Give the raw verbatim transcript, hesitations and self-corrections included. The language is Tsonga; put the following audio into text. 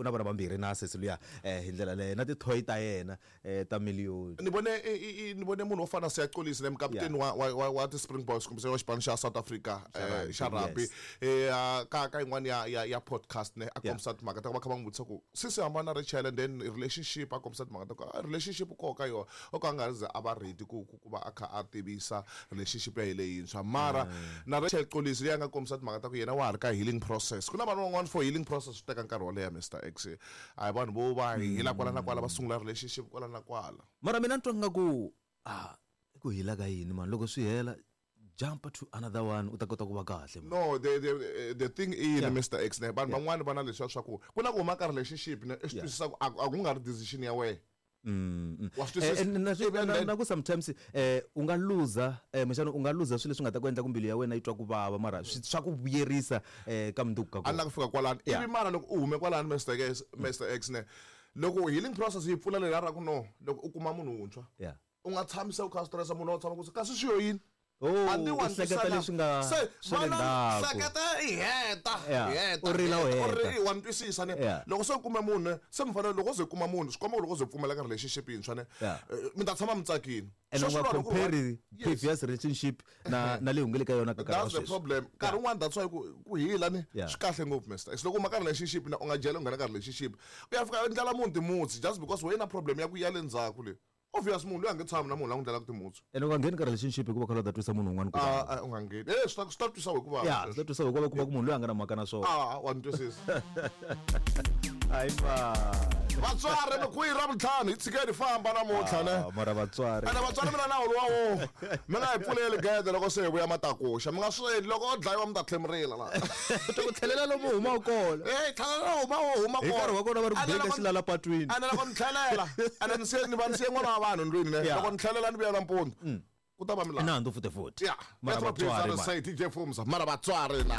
u na vana vambirhi na sesi luya eh hi ndlela leyo na tithoyi ta yena eh ta miliyoni. Ni vone ni vone munhu wo fana Siya Kolisi ne mukaputeni wa wa wa ti Springboks kumbe wa xipano xa South Africa xa rugby eh ka ka yin'wana ya ya ya podcast ne a kombisa timhaka ta ku va kha va n'wi vutisa ku sisi hambana na Rachel and then relationship a kombisa timhaka ta ku relationship ko ka yona o ka nga ri ze a va ready ku ku va a kha a tivisa relationship ya leyintshwa mara na Rachel Kolisi leyi a nga kombisa timhaka ta ku yena wa ha ri ka healing process. Ku na vanhu van'wana for healing process swi teka nkarhi wo leha Mister X a hi vanhu vo va hila kwala na kwala va sungula relationship kwala na kwala. Mara mina ni twa nga ku ah ku hila ka yini man loko swi hela jump to another one u ta kota ku va kahle. No, the the the thing is yeah. Mister X ne vanhu van'wana va na leswiya swa ku ku na ku huma ka relationship ne i swi twisisa ku a ku nga ri decision ya wena. Mm. Eh, na ku sometimes eh u nga luza eh mxana u nga luza swilo leswi nga ta ku endla ku mbilu ya wena yi twa ku vava mara swa ku vuyerisa eh ka mundzuku ka kona. A la ku fika kwalano ivi mara loko u hume kwalano Mister X Mister X ne loko healing process yi pfula lera ra ku no loko u kuma munhu wuntshwa u nga tshamisa u kha stressa munhu wa tshama ku kasi swi yo yini. Oh, hleketa leswi nga swa le ndzhaku. Hleketa i heta heta u rila u heta u wa twisisa ne loko se u kume munhu se mi fanele loko ze kuma munhu swi komba loko ze pfumela ka relationship yintshwa ne mi ta tshama mi tsakini. And u nga compare previous relationship na na leyi hungele ka yona ka that's the problem. Nkarhi wun'wana that's why ku ku hila ni swi kahle ngopfu Mister X loko u ma ka relationship na u nga jela u nghena ka relationship u ya fika u ndlela munhu timutsi just because wena problem ya ku ya le ndzhaku le. Obvious munhu loyi a nge tshami na munhu la n'wi ndlelaka timutsu. Ene u nga ngheni ka relationship hikuva kha u ta twisa munhu un'wana ku vava. Ah, u nga ngheni. Eh, swi ta swi ta twisa hikuva. Ya, swi ta twisa hikuva kuma ku munhu loyi a nga na mhaka na swona. Ah, wa ni twisisa. Hayi ba. Vatswari mi kwihi ra vutlhanu hi tshikeni famba namuntlha ne. Mara vatswari. Ene vatswari mina nawu lowa wo mi nga hi pfuleli gede loko se hi vuya matakuxa mi nga swi endli loko o dlayiwa mi ta tlhe mi rila la. U ta ku tlhelela lomu humaka kona. Eh, tlhelela huma huma kona. Hi nkarhi wa kona va ri ku beka xilala patwini. Ene loko ni tlhelela ene ni se ni va ni siye n'wana wa vanhu ndlwini ne loko ni tlhelela ni vuya nampundzu ku ta va milandzu. Nandzu futhi futhi. Mara vatswari. D J Fumza mara vatswari na.